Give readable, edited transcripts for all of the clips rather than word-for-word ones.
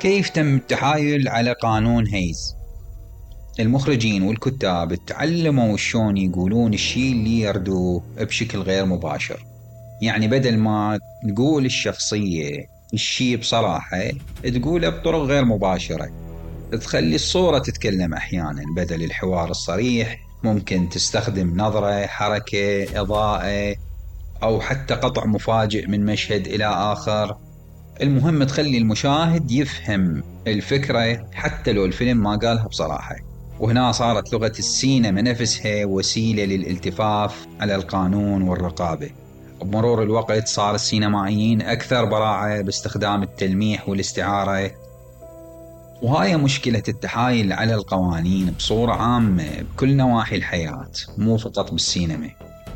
كيف تم التحايل على قانون هيز؟ المخرجين والكتاب تعلموا شلون يقولون الشيء اللي يردوه بشكل غير مباشر. يعني بدل ما تقول الشخصية الشيء بصراحة تقوله بطرق غير مباشرة، تخلي الصورة تتكلم أحيانا بدل الحوار الصريح. ممكن تستخدم نظرة، حركة، إضاءة، أو حتى قطع مفاجئ من مشهد إلى آخر. المهم تخلي المشاهد يفهم الفكرة حتى لو الفيلم ما قالها بصراحة. وهنا صارت لغة السينما نفسها وسيلة للالتفاف على القانون والرقابة. بمرور الوقت صار السينمائيين أكثر براعة باستخدام التلميح والاستعارة، وهاي مشكلة التحايل على القوانين بصورة عامة بكل نواحي الحياة، مو فقط بالسينما.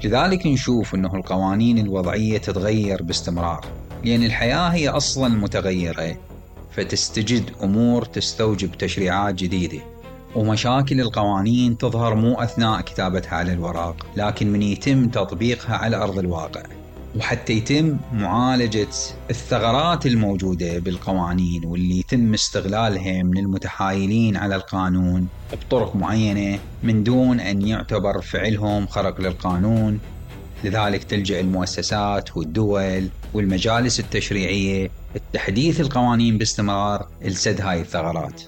لذلك نشوف أنه القوانين الوضعية تتغير باستمرار، لأن الحياة هي أصلا متغيرة، فتستجد أمور تستوجب تشريعات جديدة. ومشاكل القوانين تظهر مو أثناء كتابتها على الورق، لكن من يتم تطبيقها على أرض الواقع. وحتى يتم معالجة الثغرات الموجودة بالقوانين واللي يتم استغلالها من المتحايلين على القانون بطرق معينة من دون أن يعتبر فعلهم خرق للقانون. لذلك تلجأ المؤسسات والدول والمجالس التشريعية لتحديث القوانين باستمرار لسد هاي الثغرات.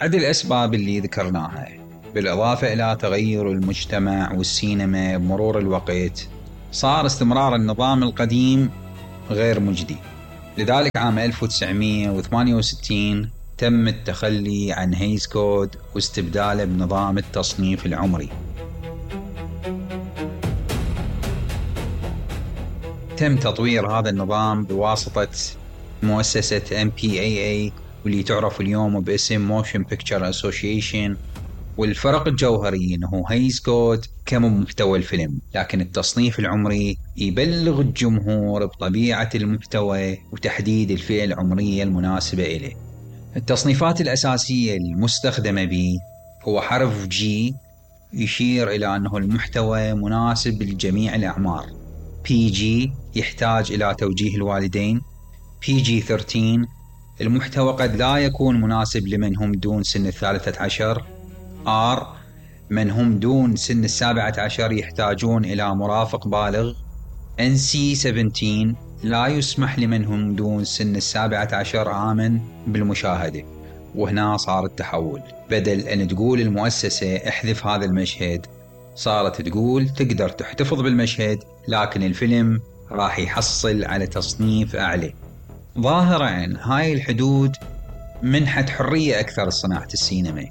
عدة الأسباب اللي ذكرناها، بالإضافة إلى تغير المجتمع والسينما بمرور الوقت، صار استمرار النظام القديم غير مجدي. لذلك عام 1968 تم التخلي عن هيز كود واستبداله بنظام التصنيف العمري. تم تطوير هذا النظام بواسطة مؤسسة MPAA واللي تعرف اليوم باسم Motion Picture Association. والفرق الجوهري أنه هيز كود كمحتوى الفيلم، لكن التصنيف العمري يبلغ الجمهور بطبيعة المحتوى وتحديد الفئة العمرية المناسبة إليه. التصنيفات الأساسية المستخدمة به هو حرف G يشير إلى أنه المحتوى مناسب لجميع الأعمار. PG يحتاج إلى توجيه الوالدين. PG-13 المحتوى قد لا يكون مناسب لمن هم دون سن 13. R من هم دون سن 17 يحتاجون إلى مرافق بالغ. NC-17 لا يسمح لمن هم دون سن 17 عاما بالمشاهدة. وهنا صار التحول، بدل أن تقول المؤسسة احذف هذا المشهد، صارت تقول تقدر تحتفظ بالمشهد لكن الفيلم راح يحصل على تصنيف أعلى. ظاهرا هاي الحدود منحت حرية أكثر لصناعة السينما،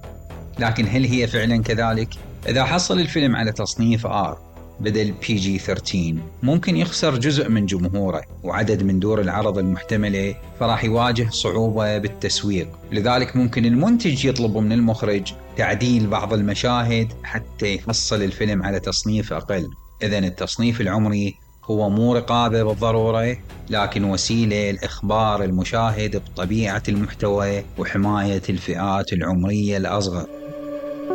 لكن هل هي فعلا كذلك؟ إذا حصل الفيلم على تصنيف R بدل PG-13 ممكن يخسر جزء من جمهوره وعدد من دور العرض المحتملة، فراح يواجه صعوبة بالتسويق. لذلك ممكن المنتج يطلب من المخرج تعديل بعض المشاهد حتى يحصل الفيلم على تصنيف أقل. إذن التصنيف العمري هو مو رقابة بالضرورة، لكن وسيلة لإخبار المشاهد بطبيعة المحتوى وحماية الفئات العمرية الأصغر.